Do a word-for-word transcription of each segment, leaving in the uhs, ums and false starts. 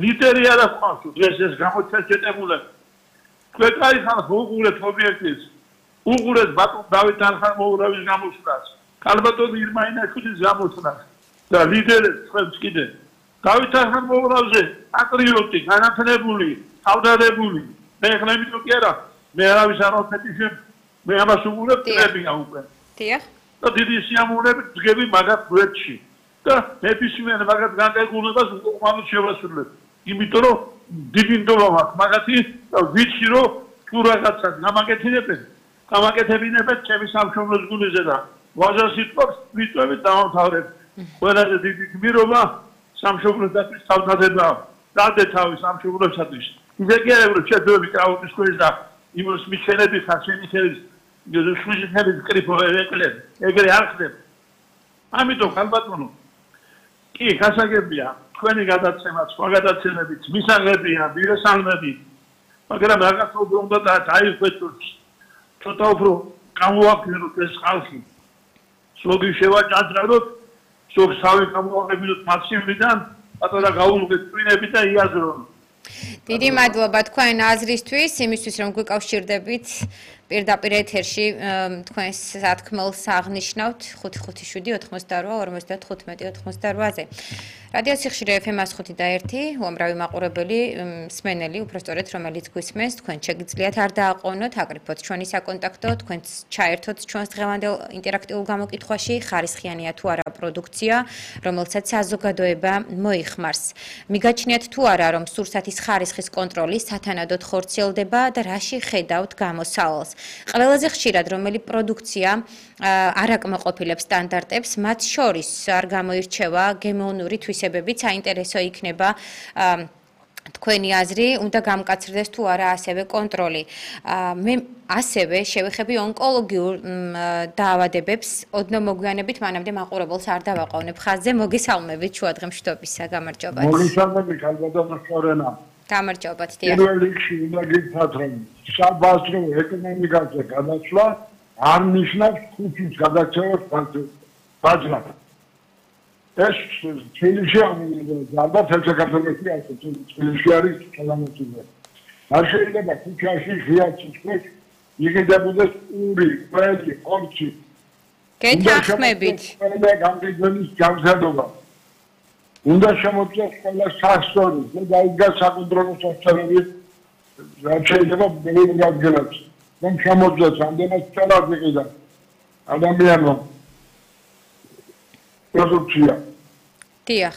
ლიდერი არ აქვს დღეს ეს გამოჩენებულები. თქვენ კაი ხალხ უყურეთ ობიექტის. უყურეთ ბატონ დავით არხამოურავის გამოსვლას. კალბატონ ირმაინაშვილის გამოსვლას. და ლიდერებს თქვენს კიდე დავით არხამოურავზე პატრიოტი, განათლებული, თავდადებული. მე ხლა იმიტომ კი არა, მე არავის არ ვფეთიშებ, მე ამას უყურებ წლებია უკვე. დიახ. და დიდი სიამოვნებით დგები მაგათ გვერდში. და ნებისმიერ მაგათ განკარგულებას უკმაოდ შევასრულებ. იმიტომ რომ დიდი ნდობა მაქვს მაგათი ვიცი რომ თუ რაღაცას გამაკეთებენ, გამაკეთებინებენ ჩემი სამშობლოს გულზე და ვაჟა სიტყვას ვიწევით დავამთავრებ. ყველაზე დიდი გმირობა სამშობლოს დაცვის თავდადება. დადე თავი სამშობლოსათვის. ისე კი არა რომ შეძლები კრაუტის ქვეშ და იმას მიჩენები ხარშენი ხელის სუჟი ხელის კრიფო ეკლებ. ეგრე არ ხდება. ამიტომ ხალბატონო კი გასაგებია თქვენი გადაცემა სხვა გადაცემებით მისაღებია მირესალმები მაგრამ რაღაცა უფრო უნდა დაიხვეწოს ცოტა უფრო გამოაქვეყნოთ ეს ხალხი ზოგი შევაჭადრებოთ ზოგს თავი გამოაყენოთ მაციმიდან პატარა გაულუგეთ twinები და იაზრონ დიდი მადლობა თქვენ აზრისთვის იმისთვის რომ გვიკავშირდებით პირდაპირ ეთერში თქვენს სათქმელს აღნიშნავთ ხუთი ხუთი შვიდი ოთხმოცდაოთხ ორმოცდათხუთმეტი ოთხმოცდაოთხ-ზე რადიო სიხშირე ეფ ემ εκατო ხუთი და ერთი უამრავი მაყურებელი მსმენელი უბრალოდ რომელიც გვისმენს თქვენ შეგიძლიათ არ დააყოვნოთ აკრიფოთ ჩვენი საკონტაქტო თქვენც ჩაერთოთ ჩვენს დღევანდელ ინტერაქტიულ გამოკითხვაში ხარისხიანია თუ არა პროდუქცია რომელსაც საზოგადოება მოიხმარს მიგაჩნიათ თუ არა რომ სურსათის ხარისხის კონტროლი სათანადოდ ხორციელდება და რაში ხედავთ გამოსავალს ყველაზე ხშირად რომელი პროდუქცია არ აკმაყოფილებს სტანდარტებს მათ შორის არ გამოირჩევა გემოვნური თვისებებით საინტერესო იქნება თქვენი აზრი უნდა გამკაცრდეს თუ არა ასევე კონტროლი მე ასევე შევეხები ონკოლოგიურ დაავადებებს ოდნავ მოგვიანებით მანამდე მაყურებელს არ დავაყოვნებ ხაზზე მოგესალმებით შუადღემშვიდობისა გამარჯობათ მოგესალმებით ალბათ სწორენა გამარჯობათ დიახ პირველ რიგში უნდა გითხრათ რომ საბაზრო ეკონომიკაზე გადაცვლა არ ნიშნავს ხუთის გადაცემას ბაძნად ეს თბილისში ალბათ საქართველოში არის თბილისში არის კალამატიზე არ შეიძლება ქუჩაში ღიაცის ქვეშ იღებდეს ური ყველი ხორცი გეთანხმებით ყველა გამგებლის გამზადობა უნდა შემოწეს ყველა სასწორი და დაიდგა საკონტროლო სასწორები რაც შეიძლება ბევრი გაგზავნოს რომ შემოწეს ამდენად სწორად იყიდა ადამიანმა პროდუქცია დიახ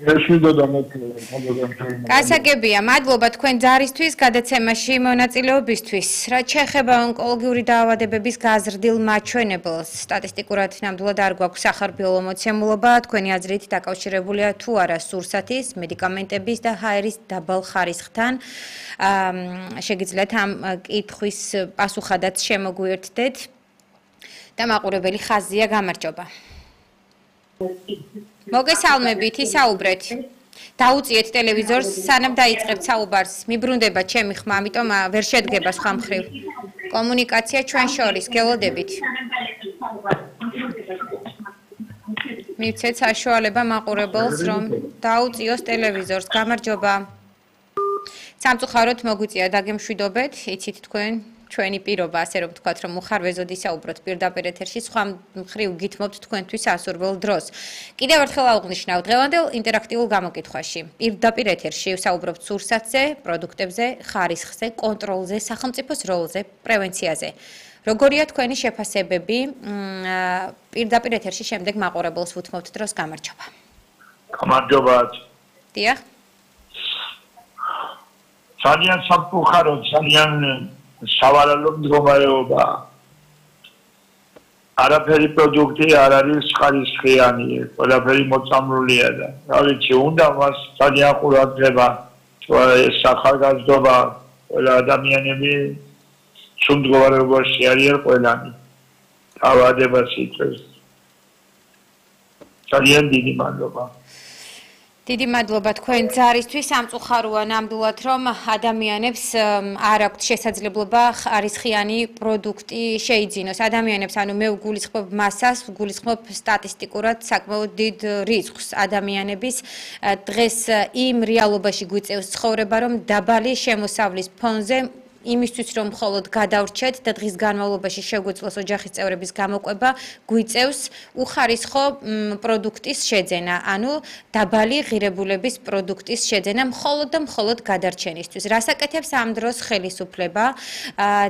ეს მინდოდა მოკლედ გასაგებია მადლობა თქვენ ძარისთვის გადაცემაში მონაწილეობისთვის რაც შეეხება ონკოლოგიური დაავადებების გაზრდილ მაჩვენებელს სტატისტიკურად ნამდვილად არ გვაქვს სახარბიელო მოცემულობა თქვენი აზრით დაკავშირებულია თუ არა სურსათის მედიკამენტების და ჰაერის დაბალ ხარისხთან შეგიძლიათ ამ კითხვის პასუხადაც შემოგვიერთდეთ და მაყურებელი ხაზია გამარჯობა მოგესალმებით ისაუბრეთ დაუწიეთ ტელევიზორს სანამ დაიწყებთ საუბარს მიბრუნდება ჩემი ხმა ამიტომ ვერ შედგება სხვა მხრივ კომუნიკაცია ჩვენ შორის გელოდებით მივცეთ საშუალება მაყურებელს რომ დაუწიოს ტელევიზორს გამარჯობა სამწუხაროდ მოგვიწია დაგემშვიდობეთ იცით თქვენ ჩვენი პირობა ასე რომ ვთქვათ რომ უხარვეზოდ ისაუბროთ პირდაპირ ეთერში სხვა მხრივ გითმობთ თქვენთვის ასურველ დროს კიდევ ერთხელ აღვნიშნავ დღევანდელ ინტერაქტიულ გამოკითხვაში პირდაპირ ეთერში ვსაუბრობთ სურსათზე პროდუქტებზე ხარისხზე კონტროლზე სახელმწიფოს როლზე პრევენციაზე როგორია თქვენი შეფასებები პირდაპირ ეთერში შემდეგ მაყურებელს ვუთმობთ დროს გამარჯობა გამარჯობა დიახ ძალიან სამწუხაროდ ძალიან სავალალო მდგომარეობა არაფერი პროდუქტი არ არის ხარისხიანი ყველაფერი მოწამლულია და რა ვიცი უნდა მას ძალიან ყურადღება ეს სახალხმწიფო ყველა ადამიანები სულ მდგომარეობაში არიან ყველანი დაავადებას იწვევს ძალიან დიდი მადლობა დიდი მადლობა თქვენ ძარისთვის. სამწუხაროა ნამდვილად, რომ ადამიანებს არ აქვთ შესაძლებლობა ხარისხიანი პროდუქტი შეიძინოს. ადამიანებს, ანუ მე ვგულისხმობ მასას, ვგულისხმობ სტატისტიკურად საკმაოდ დიდ რიცხვს ადამიანების დღეს იმ რეალობაში გვიწევს ცხოვრება, რომ დაბალი შემოსავლის ფონზე იმისთვის რომ მხოლოდ გადავრჩეთ და დღის განმავლობაში შეგვეძლოს ოჯახის წევრების გამოყვება, გვიწევს უხარისხო პროდუქტის შეძენა, ანუ დაბალი ღირებულების პროდუქტის შეძენა მხოლოდ და მხოლოდ გადარჩენისთვის. რას აკეთებს ამ დროს ხელისუფლება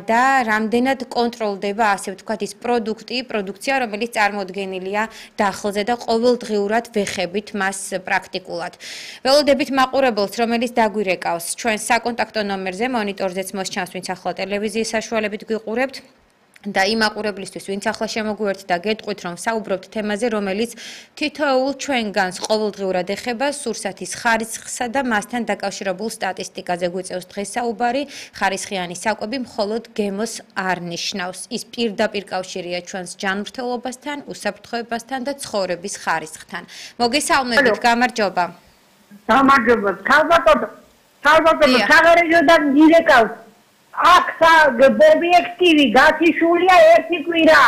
და რამდენად კონტროლდება, ასე ვთქვათ, ის პროდუქტი, პროდუქცია, რომელიც წარმოდგენილია დახლზე და ყოველდღიურად ვეხებით მას პრაქტიკულად. ველოდებით მაყურებელს, რომელიც დაგვირეკავს ჩვენ საკონტაქტო ნომერზე, მონიტორზეც მოსჩა ვინც ახლა ტელევიზიის საშუალებით გვიყურებთ და იმ აყურებლისთვის, ვინც ახლა შემოგვიერთთ და გეტყვით, რომ საუბრობთ თემაზე, რომელიც თითოეულ ჩვენგანს ყოველდღიურად ეხება სურსათის ხარისხსა და მასთან დაკავშირებულ სტატისტიკაზე გვიწევს დღეს საუბარი, ხარისხიანი საკვები მხოლოდ გემოს არ ნიშნავს. ის პირდაპირ კავშირია ჩვენს ჯანმრთელობასთან, უსაფრთხოებასთან და ცხოვრების ხარისხთან. მოგესალმებით, გამარჯობა. გამარჯობა. ქალბატონო, ქალბატონო, საგარეჯოდან დირექტორს აქ ობიექტივი გათიშულია ერთი კვირა.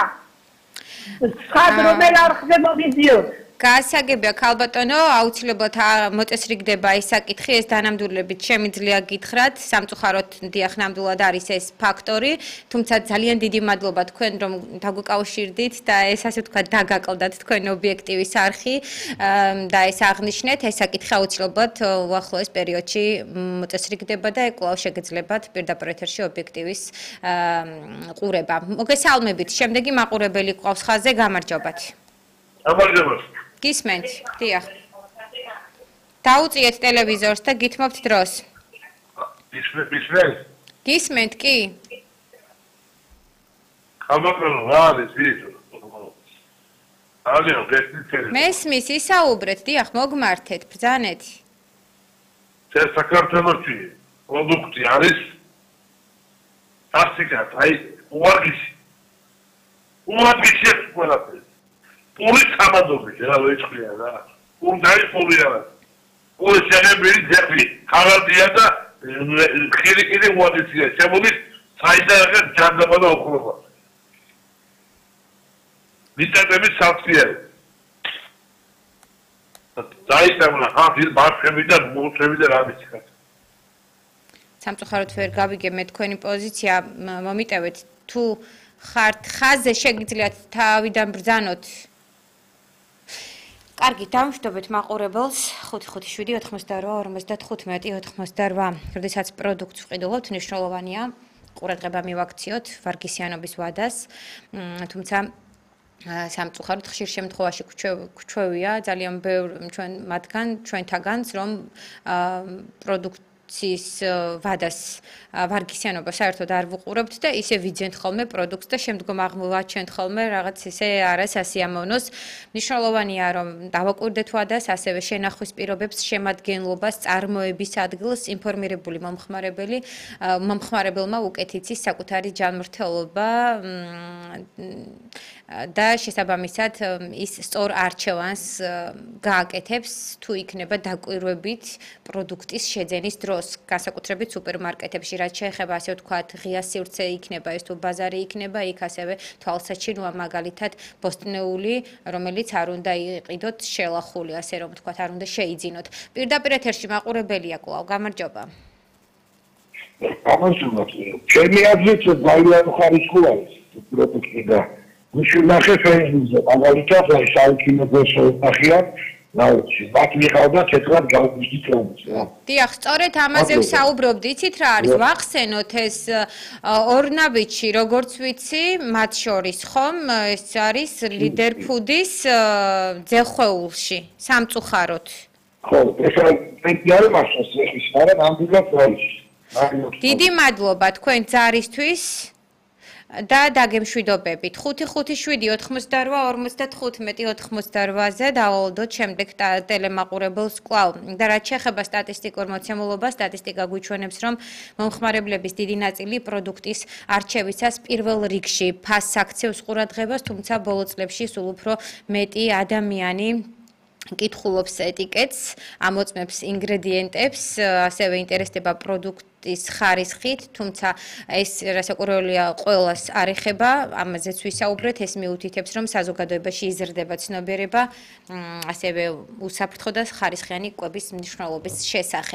ხად რომელ არხზე მოგიზიოთ? გასაგებია ქალბატონო, აუცილებლად მოწესრიგდება ეს საკითხი, ეს დანამდვილებით შემიძლია გითხრათ, სამწუხაროდ დიახ ნამდვილად არის ეს ფაქტორი, თუმცა ძალიან დიდი მადლობა თქვენ რომ დაგვიკავშირდით და ეს ასე ვთქვათ დაგაკლდათ თქვენ ობიექტივის არხი და ეს აღნიშნეთ, ეს საკითხი აუცილებლად უახლოეს პერიოდში მოწესრიგდება და კვლავ შეგეძლებათ პირდაპირ ეთერში ობიექტივის ყურება. მოგესალმებით, შემდეგი მაყურებელი ყავს ხაზზე, გამარჯობათ. გამარჯობა. გისმენთ, დიახ. დაუწიეთ ტელევიზორს და გითმობთ დროს. გისმენთ? გისმენთ, კი. გამარჯობა, რა არის ვიდეო? ალო, გესმით? მესმის, ისაუბრეთ, დიახ, მოგმართეთ, ბრძანეთ. ეს საქართველოში პროდუქტი არის ასიკათ, აი, უარგისი. უარგისი ყველაფერი. პური სამადობის რა ვეჭხია რა. პური დაიხური რა. პური შეგებელი ძები, ხალადია და ხირიკირი უადიცია. შემოდის საიდანაკა ჯანდაბა და ოქრობა. ვიტამინები საფციარი. დაიტანა ხაფილ ბარფები და მუცები და რა ვიცი ხა. სამწუხაროდ ვერ გავიგე მე თქვენი პოზიცია, მომიტევეთ თუ ხართ ხაზზე შეგიძლიათ თავიდან ბრძანოთ. კარგი, დავმშვიდობეთ მაყურებელს ხუთი ხუთი შვიდი ოთხმოცდაორვა ორმოცდათხუთმეტი ოცდაოთხმოცდაორვა. როდესაც პროდუქტს ვყიდულობთ, მნიშვნელოვანია ყურადღება მივაქციოთ ვარგისიანობის ვადას, თუმცა სამწუხაროდ ხშირ შემთხვევაში გვჩვევია ძალიან ბევრ ჩვენ მათგან, ჩვენთაგანს, რომ პროდუქტის ვადას ვარგისიანობა საერთოდ არ ვუყურებთ და ისე ვიძენთ ხოლმე პროდუქტს და შემდგომ აღმოვაჩენთ ხოლმე რაღაც ისე არასასიამოვნოს. მნიშვნელოვანია რომ დავაკვირდეთ ვადას, ასევე შენახვის პირობებს, შემადგენლობას, წარმოების ადგილს, ინფორმირებული მომხმარებელი, მომხმარებელმა უკეთ იცის საკუთარი ჯანმრთელობა და შესაბამისად ის სწორ არჩევანს გააკეთებს თუ იქნება დაკვირვებით პროდუქტის შეძენის დროს, განსაკუთრებით სუპერმარკეტებში, რაც შეეხება ასე ვთქვათ, ღია სივრცე იქნება ეს თუ ბაზარი იქნება, იქ ასევე თვალსაჩინოა მაგალითად ბოსტნეული, რომელიც არ უნდა იყიდოთ შელახული, ასე რომ ვთქვათ, არ უნდა შეიძინოთ. პირდაპირ ეთერში მაყურებელია კვლავ, გამარჯობა. გამარჯობა. ჩემი აზრით ძალიან ხარისხული არის პროდუქტი და მიშნახე ფეისბუქზე, მაგალითად, აი საუკუნეებს ნახიათ, ნაუჩი, მათ მიყავდა თეთრად გავგზით რომს რა. დიახ, სწორედ ამაზე ვსაუბრობდი, იცით რა არის, ვახსენოთ ეს ორნაბიჩი, როგორც ვიცი, მათ შორის ხომ, ეს არის ლიდერფუდის ძეხეულში, სამწუხაროდ. ხო, ეს არის მაშინ ეს არა ნამდვილად არის. დიდი მადლობა თქვენ ძარისთვის. და დაგემშვიდობებით. ხუთი ხუთი შვიდი ოთხმოცდაორვა ორმოცდათხუთმეტი ოცდაოთხმოცდაორვაზე დავალოდოთ შემდეგ ტელემაყურებელს კვლავ. და რაც შეეხება სტატისტიკურ მოცემულობას, სტატისტიკა გვიჩვენებს, რომ მომხმარებლების დიდი ნაწილი პროდუქტის არჩევისას პირველ რიგში ფასს აქცევს ყურადღებას, თუმცა ბოლო წლებში სულ უფრო მეტი ადამიანი კითხულობს ეტიკეტს, ამოწმებს ინგრედიენტებს, ასევე ინტერესდება პროდუქტის ხარისხით, თუმცა ეს რასაკვირველია ყველას არ ეხება, ამაზეც ვისაუბრეთ, ეს მიუთითებს, რომ საზოგადოებაში იზრდება ცნობიერება, ასევე უსაფრთხო და ხარისხიანი კვების მნიშვნელობის შესახებ.